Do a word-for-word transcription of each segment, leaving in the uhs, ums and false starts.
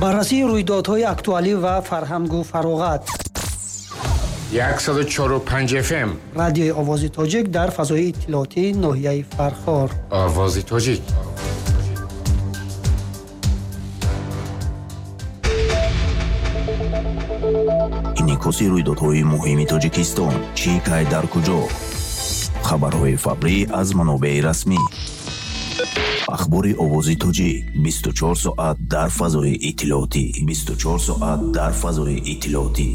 Баррасии рӯйдодҳои актуалӣ ва фарҳангу фароғат. яксаду чору панҷ эф эм. Радиои Овози Тоҷик дар фазои иттилоотии ноҳияи Фархор. Овози Тоҷик. Инъикоси рӯйдодҳои муҳими Тоҷикистон, чӣ кай дар куҷо. Хабарҳои фаврӣ аз манобеи расмӣ. Ахбори Овози Тоҷик бисту чор соат дар фазои иттилоотӣ. бисту чор соат дар фазои иттилоотӣ.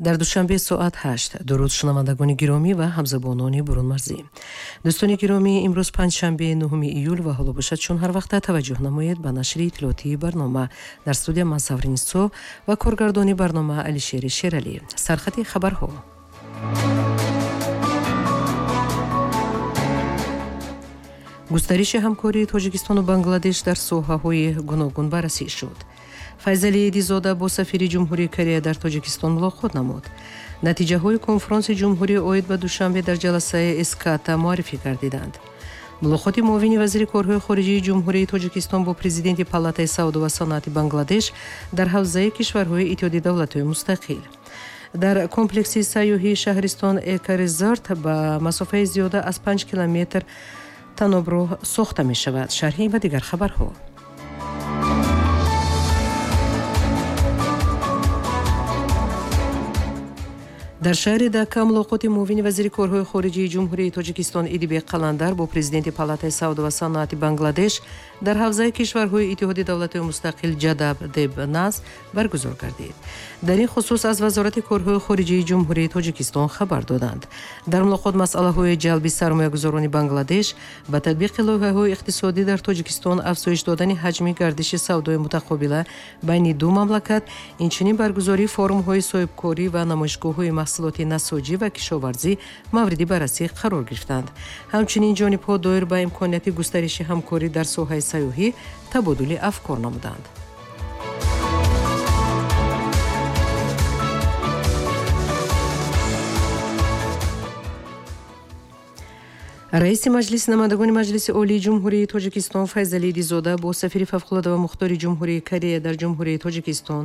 Дар душанбе соат ҳашт. Дуруд шунавандагони гиромӣ ва ҳамзабонони бурунмарзӣ. Дӯстони гиромӣ, имрӯз панҷшанбе нуҳуми июл ва ҳоло бошад чун ҳар вақта таваҷҷӯҳ намоед ба нашри иттилоотии барнома. Дар студия ман Савринисо ва коргардони барнома Алишери Шералӣ. Сархати хабарҳо. Густариши ҳамкории Тоҷикистону Бангладеш дар соҳаҳои гуногун баррасӣ шуд. Файзалӣ Эдизода бо сафири Ҷумҳурии Корея дар Тоҷикистон мулоқот намуд. Натиҷаҳои конфронси ҷумҳурӣ оид ба Душанбе дар ҷаласаи Эската муаррифӣ гардиданд. Мулоқоти муовини вазири корҳои хориҷии Ҷумҳурии Тоҷикистон бо президенти Палатаи савдо ва саноати Бангладеш дар ҳавзаи кишварҳои Иттиҳоди давлатҳои мустақил. Дар комплекси сайёҳии шаҳристон Эко-резорт ба масофаи зиёда аз панҷ километр таноброҳ сохта мешавад. Шарҳи ва дигар хабарҳо. Дар шаҳри Дака мулоқоти муовини вазири корҳои хориҷии Ҷумҳурии Тоҷикистон Идибек Қаландар бо президенти Палатаи савдо ва саноати Бангладеш дар ҳавзаи кишварҳои Иттиҳоди давлатҳои мустақил Ҷадаб Дебназ баргузор гардид. Дар ин хусус аз Вазорати корҳои хориҷии Ҷумҳурии Тоҷикистон хабар доданд. Дар мулоқот масъалаҳои ҷалби сармоягузорони Бангладеш ба татбиқи лоиҳаҳои иқтисодӣ дар Тоҷикистон, афзоиш додани ҳаҷми гардиши савдои мутақобила байни ду мамлакат, инчунин баргузории форумҳои соҳибкорӣ ва намоишгоҳҳои маҳсулоти насоҷӣ ва кишоварзӣ мавриди баррасӣ қарор гирифтанд. Ҳамчунин ҷонибҳо доир ба имконияти густариши ҳамкорӣ дар соҳаи сайёҳӣ табодули афкор намуданд. Раиси Маҷлиси намояндагони Маҷлиси Олии Ҷумҳурии Тоҷикистон Файзалӣ Эдизода бо сафири фавқулода ва мухтори Ҷумҳурии Корея дар Ҷумҳурии Тоҷикистон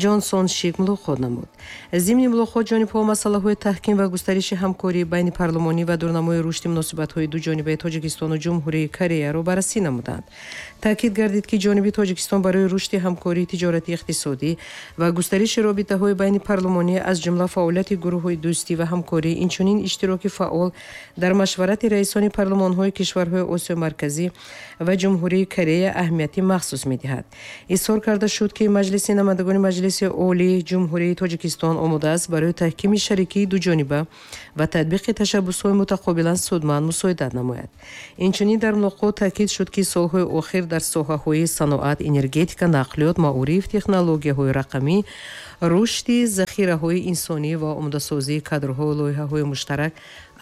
Ҷонсон Шик мулоқот намуд. Зимни мулоқот ҷонибҳо масъалаҳои таҳким ва густариши ҳамкорӣ байни парлумонӣ ва дурнамои рушди муносибатҳои дуҷонибаи Тоҷикистону Ҷумҳурии Кореяро баррасӣ намуданд. Таъкид гардид, ки ҷониби Тоҷикистон барои рушди ҳамкории тиҷорати иқтисодӣ ва густариши робитаҳои байни парлумонӣ, аз ҷумла фаъолияти гурӯҳҳои дӯстӣ ва ҳамкорӣ, инчунин иштироки фаъол дар машварати раисони парлумонҳои кишварҳои Осиёи Марказӣ ва Ҷумҳурии Корея аҳамияти махсус медиҳад. Изҳор карда шуд, ки Маҷлиси намояндагони Маҷлиси Олии Ҷумҳурии Тоҷикистон омода аст барои таҳкими шарикии дуҷониба ва татбиқи ташаббусҳои мутақобилан судманд мусоидат намояд. Инчунин дар мулоқот таъкид шуд, ки солҳои охир дар соҳаҳои саноат, энергетика, нақлиёт, маориф, технологияҳои рақамӣ, рушди захираҳои инсонӣ ва омодасозии кадрҳою лоиҳаҳои муштарак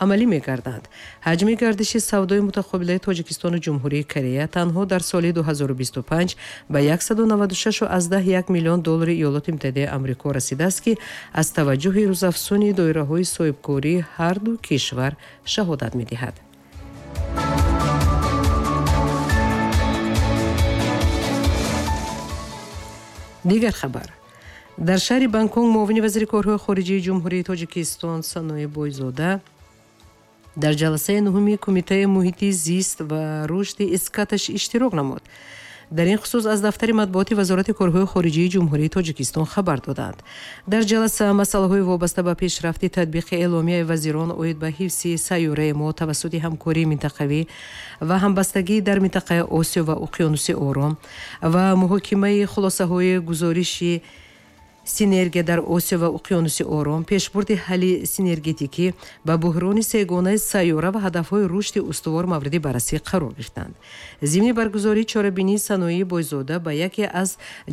амалӣ мегарданд. Ҳаҷми гардиши савдои мутақобилаи Тоҷикистону Ҷумҳурии Корея танҳо дар соли ду ҳазору бисту панҷ ба яксаду наваду шаш аз даҳ як миллион доллари Иёлоти Муттаҳидаи Амрико расидааст, ки аз таваҷҷӯҳи рӯзафзуни доираҳои соҳибкории ҳар ду кишвар шаҳодат медиҳад. Дигар хабар. Дар шаҳри Бангконг муовини вазири корҳои хориҷии Ҷумҳурии Тоҷикистон Санои Бойзода дар ҷаласаи нуҳуми Кумитаи муҳити зист ва рушди Эскаташ иштирок намуд. Дар ин хусус аз дафтари матбуоти Вазорати корҳои хориҷии Ҷумҳурии Тоҷикистон хабар доданд. Дар ҷаласа масъалаҳои вобаста ба пешрафти татбиқи эъломияи вазирон оид ба ҳифзи сайёраи мо тавассути ҳамкории минтақавӣ ва ҳамбастагӣ дар минтақаи Осиё ва Уқёнуси Ором ва муҳокимаи хулосаҳои гузориши синергия дар Осиё ва Уқёнуси Ором, пешбурди ҳалли синергетикӣ ба буҳрони сегонаи сайёра ва ҳадафҳои рушди устувор мавриди баррасӣ қарор гирифтанд. Зимни баргузории чорабинии Саноии Бойзода ба яке аз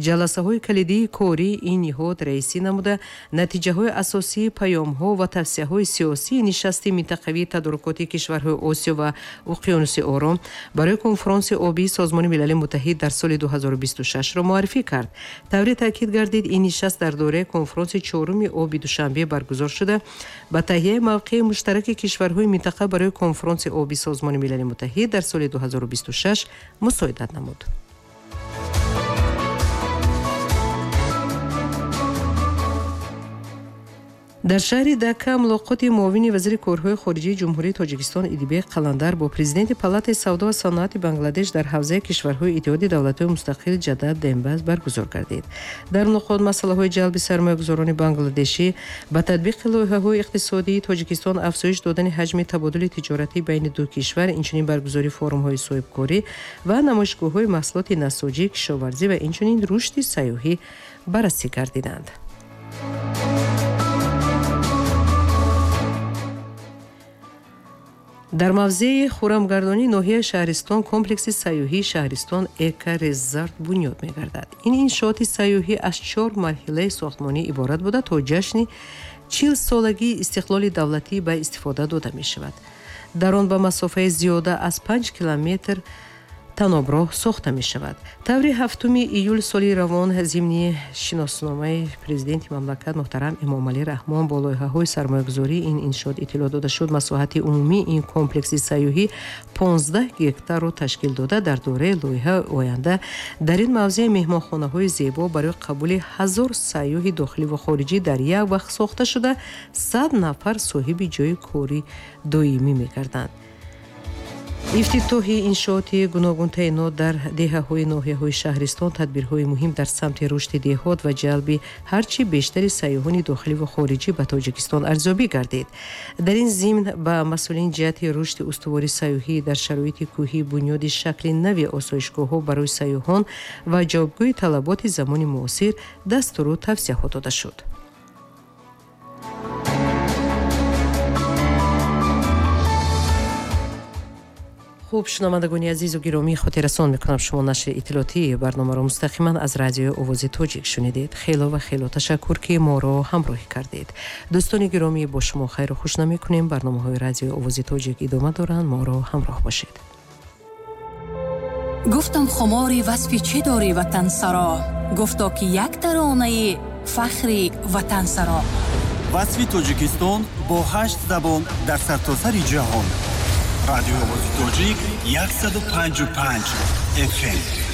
ҷаласаҳои калидии кории ин ниҳод раисӣ намуда, натиҷаҳои асосии паёмҳо ва тавсияҳои сиёсии нишасти минтақавии тадорукоти кишварҳои Осиё ва Уқёнуси Ором барои конфронси обии Созмони Милали Муттаҳид дар соли ду ҳазору бисту шашро муаррифӣ кард. Тавре таъкид гардид, ин нишаст дар доираи конфронси чоруми оби Душанбе баргузор шуда, ба таҳияи мавқеи муштараки кишварҳои минтақа барои конфронси оби Созмони Милали Муттаҳид дар соли ду ҳазору бисту шаш мусоидат намуд. Дар шаҳри Дака мулоқоти муовини вазири корҳои хориҷии Ҷумҳурии Тоҷикистон Идибек Қаландар бо президенти Палатаи савдо ва саноати Бангладеш дар ҳавзаи кишварҳои Иттиҳоди давлатҳои мустақил Ҷадаб Дембаз баргузор гардид. Дар мулоқот масъалаҳои ҷалби сармоягузорони бангладешӣ ба татбиқи лоиҳаҳои иқтисодии Тоҷикистон, афзоиш додани ҳаҷми табодули тиҷоратӣ байни ду кишвар, инчунин баргузории форумҳои соҳибкорӣ ва намоишгоҳҳои маҳсулоти насоҷӣ, кишоварзӣ ва инчунин рушди сайёҳӣ баррасӣ гардиданд. Дар мавзеи Хурамгардонии ноҳияи Шаҳристон комплекси сайёҳии Шаҳристон Эко-Резорт бунёд мегардад. Ин иншооти сайёҳӣ аз чор марҳилаи сохтмонӣ иборат буда, то ҷашни чилсолагии истиқлоли давлатӣ ба истифода дода мешавад. Дар он ба масофаи зиёда аз панҷ километр таноброҳ сохта мешавад. Таври ҳафтуми июл соли равон зимни шиносномаи президенти мамлакат муҳтарам Эмомалӣ Раҳмон бо лоиҳаҳои сармоягузории ин иншоот иттилоъ дода шуд. Масоҳати умумии ин комплекси сайёҳӣ понздаҳ гектарро ташкил дода, дар доираи лоиҳаи оянда дар ин мавзеъ меҳмонхонаҳои зебо барои қабули ҳазор сайёҳи дохилӣ ва хориҷӣ дар як вақт сохта шуда, сад нафар соҳиби ҷойи кори доимӣ мегарданд. Ифтитоҳи иншооти гуногунтаинот дар деҳаҳои ноҳияҳои Шаҳристон тадбирҳои муҳим дар самти рушди деҳот ва ҷалби ҳарчи бештари сайёҳони дохилӣ ва хориҷӣ ба Тоҷикистон арзёбӣ гардид. Дар ин зимн ба масъулин ҷиҳати рушди устувори сайёҳӣ дар шароити кӯҳӣ, бунёди шакли нави осоишгоҳҳо барои сайёҳон ва ҷавобгӯи талаботи замони муосир дастуру тавсияҳо дода шуд. Хуб, шунавандагони азизу гиромӣ, хотиррасон мекунам, шумо нашри иттилоотии барномаро мустақиман аз радиои Овози Тоҷик шунидед. Хело ва хело ташаккур, ки моро ҳамроҳӣ кардед. Дӯстони гиромӣ, бо шумо хайру хуш намекунем. Барномаҳои радиои Овози Тоҷик идома доранд. Моро ҳамроҳ бошед. Гуфтам хумори васфи чӣ дорӣ ватансаро, гуфто ки як таронаи фахри ватансаро. Васфи Тоҷикистон бо ҳашт забон дар сартосари ҷаҳон. Радиои Овози Тоҷик яксаду панҷу панҷ эф эм.